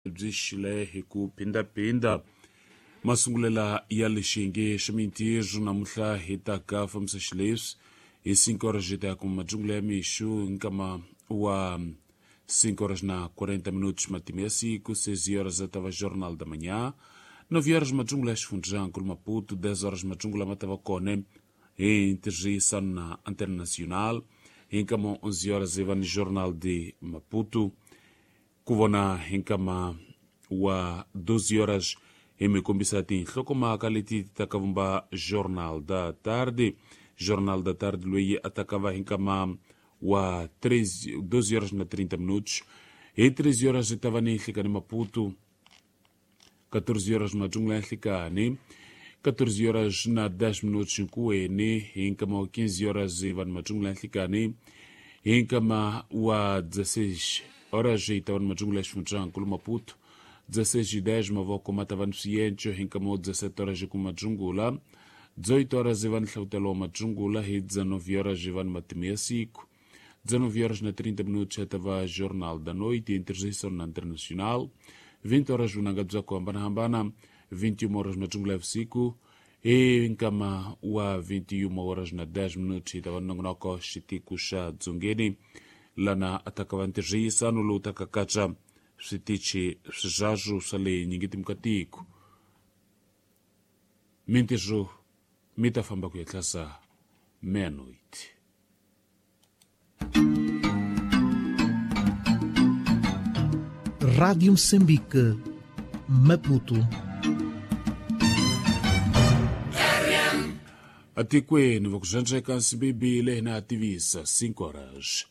Byi xile hi ku phindaphinda masungulela ya lexinge xa mintirho namuntlha hi ta ka fambisa xileswi hi 5 horas hi ta ya kuma madyungulo ya mixo nkama wa 5 horas na 40 minutos matimu ya siku, 6 horas ta va Jornal da Manhã, 9 horas madyungulo ya xifundzankulu Maputo, 10 horas madyungulo ma ta va kona hi ntirhisano na Antena Nacional, hi nkama wa 11 horas hi va ni Jornal de Maputo. Ku vona hi nkama wa 12 horas hi mi kombisa tinhlokomhaka leti ti ta ka vumba Jornal da Tarde. Jornal da Tarde loyi a ta ka va hi nkama wa 3, 12 horas na 30 minutos. Hi 13 horas hi ta va ni Nhlikani Maputo, 14 horas madyungulo ya nhlikani, 14 horas na 10 minutos nkuweni. Hi nkama wa 15 horas hi va ni madyungulo ya nhlikani. Hi nkama wa 16 horas hi ta va ni madyungulo ya xifundzankulu Maputo, 16:10 mavoko ma ta va ni swienco. Hi nkama wa 17 horas ku madyungula, 18 horas hi va ni hlavutelo wa madyungula. Hi 19 horas hi va ni matimu ya siku, 19 horas na 30 minutos ya ta va Jornal da Noite em ntirhisano na Internacional, 20 horas vunanga bya ku hambanahambana, 21 horas madyungula ya vusiku. Hi nkama wa 21 horas na 10 minutos hi ta va nongonoko xitiku xa dzongeni, lana a ta ka va ntirhisano lowu ta ka katsa switichi swizazwu swa le nyingitimu ka tiko. Mintirho mi ta famba ku ya tlasa meia-noite. Rádio Moçambique, Maputo. Atikweni va ku zandleka nsimbibile na tivisa 5 horas.